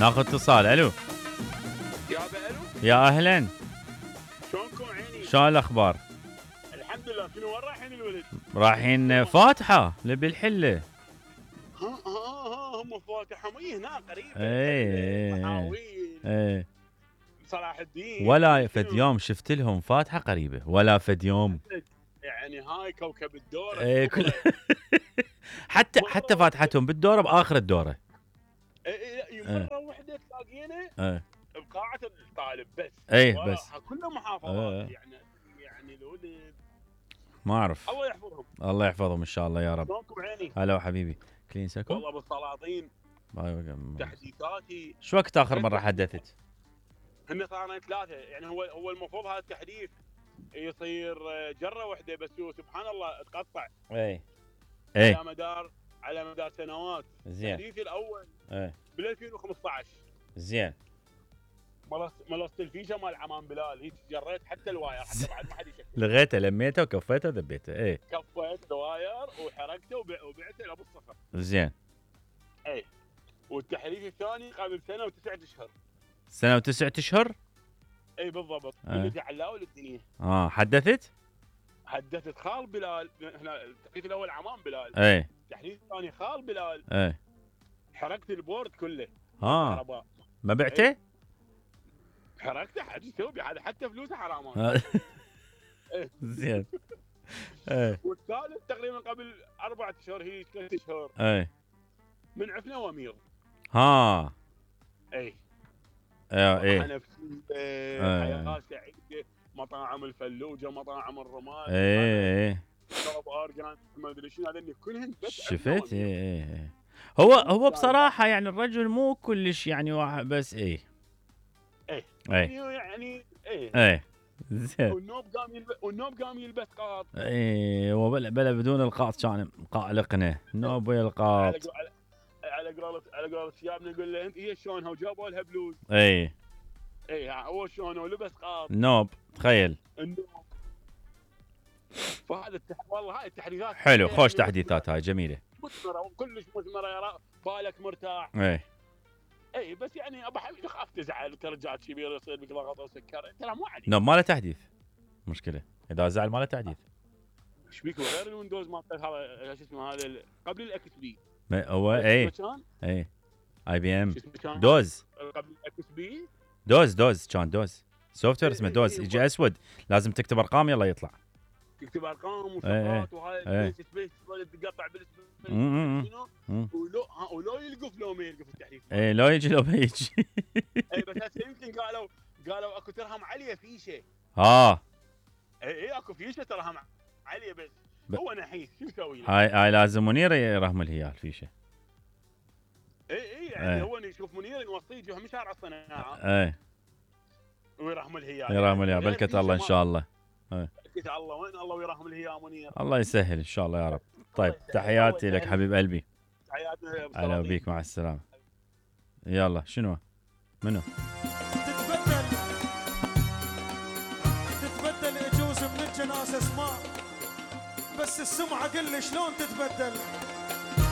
ناخذ اتصال. الو يا بألو، يا اهلا، شلونكم عيني؟ شو الاخبار؟ الحمد لله. شنو وين رايحين الولد؟ رايحين فاتحه بالحله. ها هم فاتحهم هنا قريبه. ايه محاويل ايه صلاح الدين. ولا فد يوم شفت لهم فاتحه قريبه ولا فد يوم. يعني هاي كوكب الدوره. ايه كل حتى فاتحتهم بالدوره باخر الدوره. مره واحده تلاقينا بقاعه الطالب بس. ايه بس كلها محافظات. يعني الولد ما اعرف. الله يحفظهم. الله يحفظهم ان شاء الله يا رب. شلونكم عيني؟ هلا حبيبي، كلين سكو. والله بالسلاطين تحديثاتي. شو وقت اخر مره حدثت؟ هن صارنا 3. يعني هو المفروض هذا التحديث يصير جره واحده بس، هو سبحان الله تقطع. اي على مدار سنوات. زين. التحديث الاول بال 2015. زين. ملصت الفيشه مال عمان بلال، هيك جريت حتى الواير حتى بعد ما حد يشكل. لغيته لميته وكفيته وذبيته. اي كفيت الواير وحركته وبعته لابو الصخر. زين. اي والتحديث الثاني قبل سنه و9 اشهر. سنه و9 اشهر؟ اي بالضبط. اللي علاوي الدنيا. حدثت خال بلال. هنا التحديث الاول عمان بلال. اي التحديث الثاني خال بلال. اي حركت البورد كله. ما بعته؟ حركته حد يسوي هذا حتى فلوسه حرام. زين. والثالث تقريبا قبل 4 اشهر، هي 3 اشهر. من عفنه وامير. اي حياه سعيده، مطاعم الفلوجه، مطاعم الرماد. شرب ارجان ما ادري شنو هذول كلهن بس شفت. هو بصراحه يعني الرجل مو كلش يعني واحد بس. يعني زين. والنوب قام يلبس قاط. بلا بدون القاط كان قالقنا النوب ويا القاط. على قولة شيابنا نقول له انت هي شلونها وجابوا لها بلوز. هو شلونه ولبس قاط نوب. تخيل. النوب. فهذا والله هاي التحديثات حلو، خوش تحديثات هاي جميله مثمره وكلش مثمره. يا بالك مرتاح. بس يعني ابو حميد خاف تزعل، انت رجال كبير يصير بك ضغط وسكر. ترى مو عادي. نوب ما له تحديث مشكله، اذا زعل ما له تحديث. ايش بيك غير الويندوز مالته هذا شو اسمه هذا قبل الاكس بي. هو اي بي ام دوز. قبل الاكس بي دوز كان دوز سوفت وير اسمه دوز. يجي اسود لازم تكتب ارقام يلا يطلع. تكتب ارقام وشغلات وهاي سبيس تقطع بالسبيس ولو يلقف لو ما يلقف التحديث. لو يجي لو ما يجي. بس هسه يمكن قالوا اكو ترهم عاليه فيشه. اكو فيشه ترهم عاليه بس هو نحيس شو يسوي له؟ هاي لازم منير يرهم لي اياها الفيشه. يعني هو يشوف منير نوصيه جهه من شارع الصناعه. ويرحم لها اياها. يرحم لها بركه الله ان شاء الله. بركه الله وين الله ويرحم لها يا منير. الله يسهل ان شاء الله يا رب. طيب تحياتي لك حبيب قلبي. تحياتنا. هلا بيك، مع السلامه. يلا شنو منو تتبدل يجوز من الجنازه اسماء، بس السمعه قل لي شلون تتبدل.